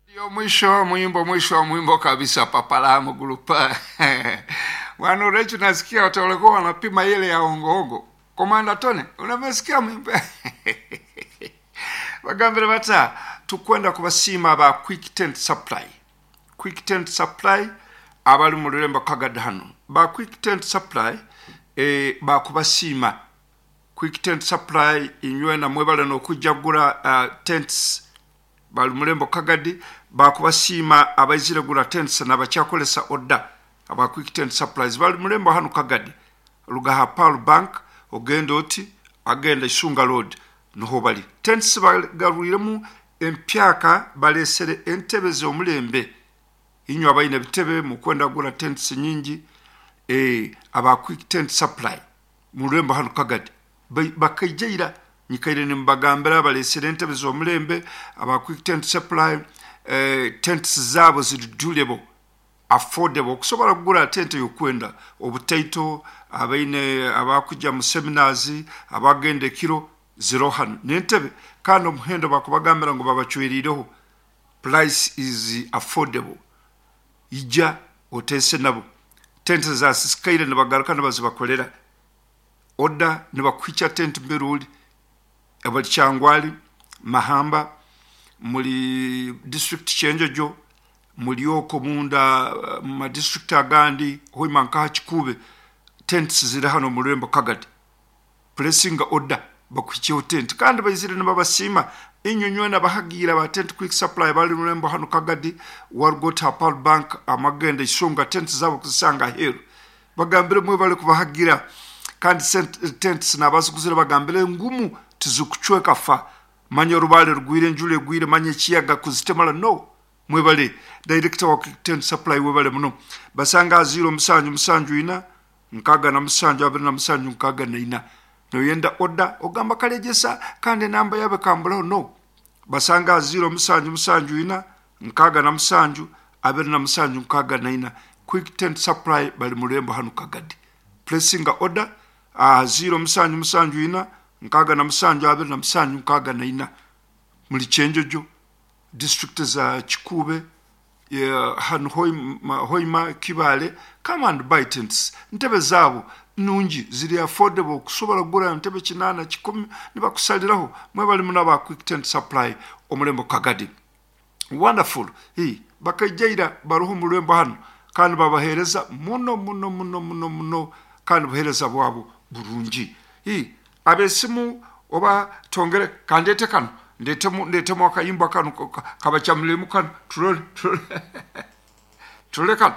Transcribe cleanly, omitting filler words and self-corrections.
Ndio mwisho mwimbo, mwisho wa mwimbo kabisa, papalamu gulupa bwana Urechu, nasikia watu walikuwa wanapima ile ya ongoongo. Komanda Tone, unamesikia mwimbo bagambire bata tukwenda kubasiima ba Quick Tent Supply. Quick Tent Supply abali mu rurembo Kagadi hano ba Quick Tent Supply e, bakubasiima Quick Tent Supply inywe namwe bale nokujja kugura tents bali murembo Kagadi bakubasiima abaizire gura tents nabakyakolesa order aba Quick Tent Supplies bali murembo hano Kagadi rugaha Pearl Bank ogenda oti agenda Isunga Road niho bali tents bagarwiremu empyaka balesere entebe z'omulembe inywe abaine ebitebe mukwenda kugura tents nyingi e, aba Quick Tent Supply murembo hano Kagadi bakaijaira nyikaire nimbagambira balesere entebe z'omulembe aba Quick Tent Supply tents zaabo ziri durable affordable okusobola kugura tente yokwenda obutaito abaine abakujja mu seminars abagenda ekiro ziro hano n'entebe kandi omuhendo bakubagambira ngu babacwerireho price is affordable ija oteese nabo tente zasisikaire nibagaruka nibazibakolera oda nibakuhikya tente mbere ori abali Kyangwali, Mahamba, muri district Kyenjojo, muri okwo munda mu ma district agandi Hoima nkaha Kikuube tents ziri hano omu rurembo Kagadi puresinga order bakuhikyeho tent kandi baizire nibabasiima inywe nywena abahagiire aba tent quick supply bari rurembo hanu Kagadi waruga oti aha Pearl Bank amagenda Isonga tents zaabo kuzisanga aheeru bagambire mwebare kubahagira kandi tents nabaziguzire bagambire ngumu tizikucweka fa manya orubaare rugwire enjura egwire manya ekiyaga kuzitemara no mwebare director wa tent supply webare muno basanga aha ziiro musanju musanju ina nkaaga na musanju abiri na musanju nkaaga na ina noyenda order ogamba karegyesa kandi enamba yaabo ekamburaho no basanga aha ziiro musanju musanju ina nkaaga na musanju abiri na musanju nkaaga na ina quick tent supply bari murembo hanu Kagadi puresinga order aha ziiro musanju musanju ina nkaaga na musanju abiri na musanju nkaaga na ina muri Kyenjojo district za Kikuube hanu Hoima, Kibaale come and buy tents ntebe zaabo nungi ziri affordable kusobora kugura ntebe kinaana kikumi nibakusaliraho mwebale muno aba Quick Tent Supply omurembo Kagadi wonderful hii bakaijaira baruho omu rurembo hanu kandi babaheereza muno muno muno muno muno kandi obuheereza bwabo burungi hii abesimu oba twongere kandete kanu ndetemu ndetemu akayimba kanu kabachamulemu kanu turole turole turole kanu.